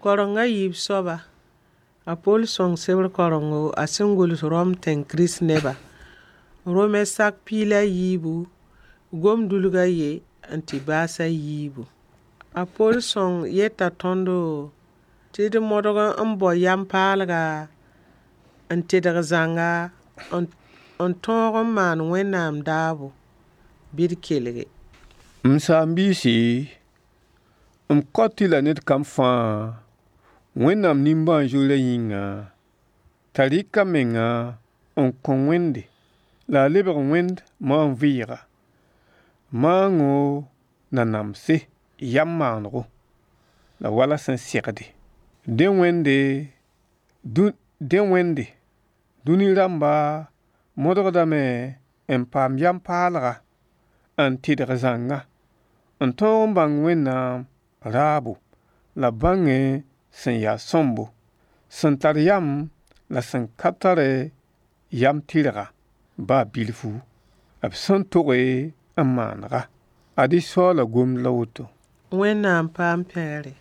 Karenga yiib soaba, a Poll sõng sebr karengo a sẽn gʋls Rom tẽng Kirist neba. Rome sak piig la yiibu, gom-dulg a ye n tɩ baas a yiibu. A Poll sõng yeta tõndo tɩ d modg n bao yam paalga, n tedg zãnga, n tõog n maan Wẽnnaam daabo. Bɩ d kelge. M saam-biisi, m kaot-y la ned kam fãa Wẽnnaam nimbãan-zoeerã yĩnga, t'a rɩk a menga n kõ Wẽnde la a lebg Wẽnd maan-vɩɩga, maango na namse yam maanego, la wala sẽn segde. Dẽ Wẽnde, dũni rãmba modgdame n paam yam paalga, n tɩdg zãnga, n tõog n bãng Wẽnnaam raabo la b bãngẽ sẽn ya sõmbo, sẽn tar yam la sẽn ka tare yam tɩrga ba bilfu, b sẽn toge n maanega. Ad-y Soaala gomd la woto. Wẽnnaam paam pẽgre.